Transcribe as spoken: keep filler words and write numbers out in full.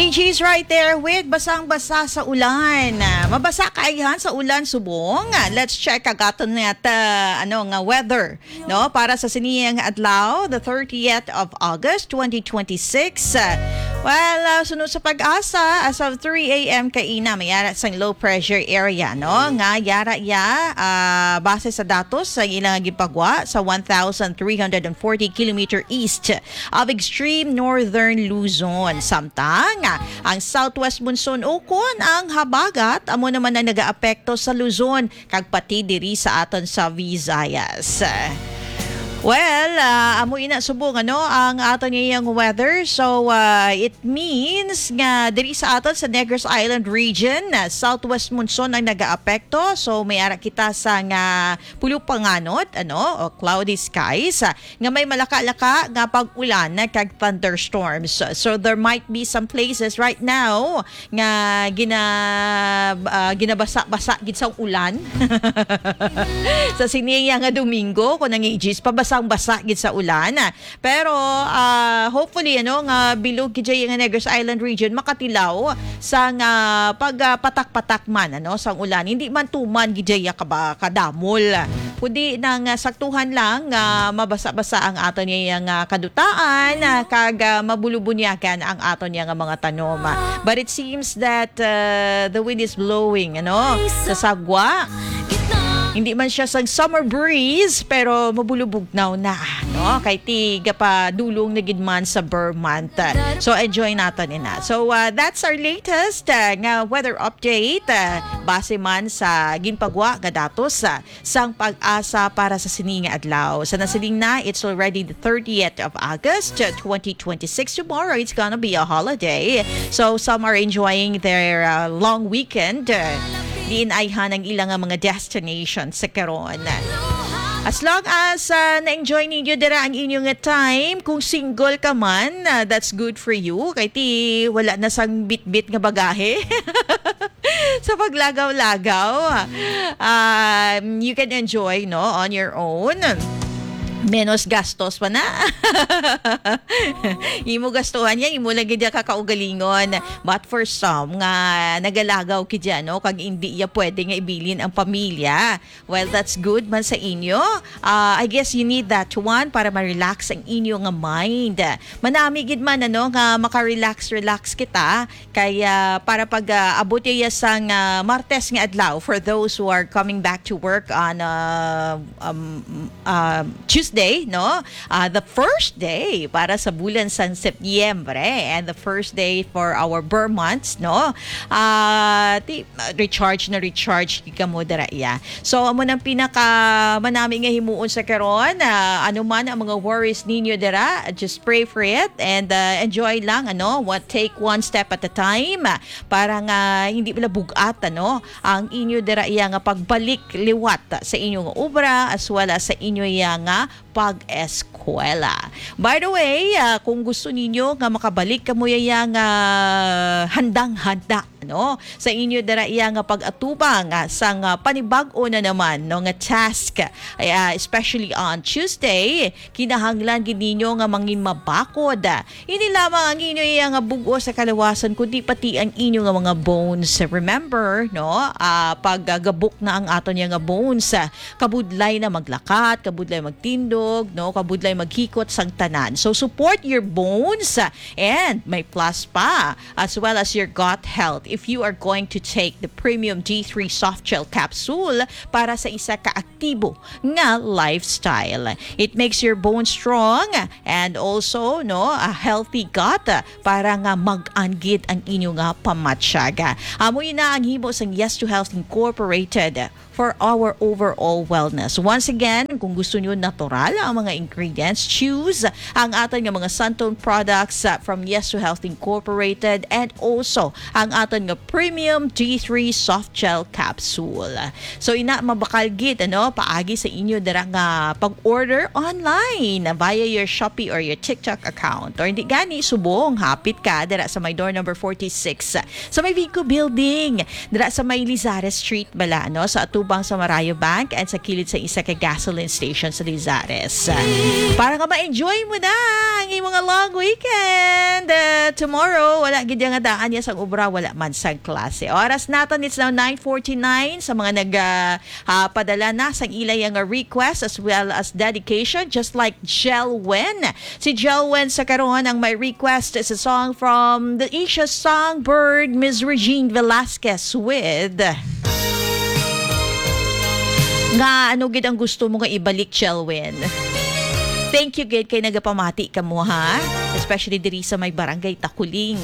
She's right there with Basang-Basa sa Ulan. Mabasa ka ayhan sa ulan subong. Let's check ang aton nga ta, ano nga weather, no, para sa siniyang adlaw, the thirtieth of August, twenty twenty-six. Well, uh, suno sa PAGASA, as of three a.m. kaina, may ara sang low pressure area, no, nga yara ya, uh, base sa datos sa ilang gipagwa sa one thousand three hundred and forty kilometer east of extreme northern Luzon. Samtang ang southwest monsoon ukon ang habagat, amo naman ang nagaapekto sa Luzon kag pati diri sa aton sa Visayas. Well, uh, amo ina subong, ano, ang aton ngayong weather. So, uh, it means nga diri sa aton sa Negros Island region, uh, southwest monsoon ang nagaapekto. So, may ara kita sa nga pulo panganod, ano, o cloudy skies, uh, nga may malaka-laka nga pag-ulan kag thunderstorms. So there might be some places right now nga gina-, ah, ginabasa-basa gid sa ulan. Sa siniya nga Domingo, kung ang ages, pabasang-basa gid sa ulan. Pero, ah, hopefully, ano, nga bilog gid dyan nga Negros Island region makatilaw sa nga pag, ah, patak-patak man, ano, sang ulan. Hindi man tuman gid dyan kaba-, kadamol. Kundi nang, ah, saktuhan lang nga mabasa-basa ang aton nga, nga kadutaan, ah, kag, ah, mabulubunyagan ang aton nga mga tanom. But it seems that, uh, the wind is blowing, ano, sa sagwa. Hindi man siya sang summer breeze, pero mabulubugnaw na, no? Kay ti gapadulong na gid man sa Ber month. So, enjoy naton ina. So, uh, that's our latest, uh, nga weather update. Uh, base man sa ginpagwa nga datos, uh, sang PAGASA para sa sini nga adlaw. Sa nasiling na, it's already the thirtieth of August, uh, twenty twenty-six. Tomorrow, it's gonna be a holiday. So, some are enjoying their, uh, long weekend. Uh, diin ayhan ang ilang, uh, mga destination sa karon. As long as, uh, na-enjoy ninyo dira ang inyong nga time, kung single ka man, uh, that's good for you. Kay ti, wala na sang bitbit nga bagahe. Sa paglagaw-lagaw, um, you can enjoy, no, on your own. Menos gastos pa na. Imo gastuhan yan, imo lang gid yan kakaugalingon. But for some nga nagalagaw gid yan, no, kag hindi ya pwede nga ibilin ang pamilya, well, that's good man sa inyo. Ah, I guess you need that one para ma-relax ang inyo nga mind. Manami gid man, ano, nga maka-relax-relax kita. Kaya para pag, ah, abot iya sang, ah, Martes nga adlaw, for those who are coming back to work on, ah, um, ah, Tuesday, no? Ah, the first day para sa bulan sang Setyembre and the first day for our Ber months, no? Ah, ti-, recharge na recharge gid kamo dira iya. So, amo nang pinaka manami nga himuon sa karon. Ah, ano man ang mga worries ninyo dira, just pray for it and, ah, enjoy lang, ano, what, take one step at a time, ah, para nga hindi pala bug-at, ano, ang inyo dira iya nga pagbalik liwat sa inyo nga obra as well as sa inyo iya nga pag-eskwela. By the way, ah, kung gusto ninyo nga makabalik kamo iya nga handang-handa, no, sa inyo dira iya nga pag-atubang, ah, sang, ah, panibag-o na naman, no, nga task, ah, especially on Tuesday, kinahanglan gid ninyo nga mangin mabakod. Hindi lamang ang inyo iya nga bug-os sa kalawasan, kundi pati ang inyo nga mga bones. Remember, no, ah, pag, ah, gabok na ang aton iya nga bones, ah, kabudlay na maglakat, kabudlay magtindog, no, kabudlay maghikot sang tanan. So, support your bones, ah, and may plus pa, as well as your gut health if you are going to take the Premium D three Soft Gel Capsule para sa isa ka aktibo nga lifestyle. It makes your bones strong and also, no, a healthy gut, ah, para nga mag-anggid ang inyo nga pamatyaga. Amo ina ang himo sang Yes to Health Incorporated for our overall wellness. Once again, kung gusto nyo natural ang mga ingredients, choose ang aton nga mga Santon products, ah, from Yes to Health Incorporated and also ang aton nga Premium D three Soft Gel Capsule. So, ina, mabakal gid, ano, paagi sa inyo dira nga pag-order online via your Shopee or your TikTok account. Or hindi gani, subong, hapit ka dira sa may door number forty-six sa may Vico Building, dira sa may Lizares Street bala, no? Sa atubang sa Marayo Bank and sa kilid sa isa ka gasoline station sa Lizares. Para nga ma-enjoy mo na ang imong long weekend. Uh, tomorrow, wala gid nga daan niya sang obra, wala man sang klase. Oras naton, it's now nine forty-nine. Sa mga nag, uh, uh, padala na sang ila yang request as well as dedication, just like Jelwin. Si Jelwin sa karon ang may request sa song from the Asia Songbird, Miss Regine Velasquez with Nga ano gid ang gusto mo nga ibalik, Jelwin? Thank you gid kay nagapamati ka mo, ha? Especially diri sa may Barangay Takuling.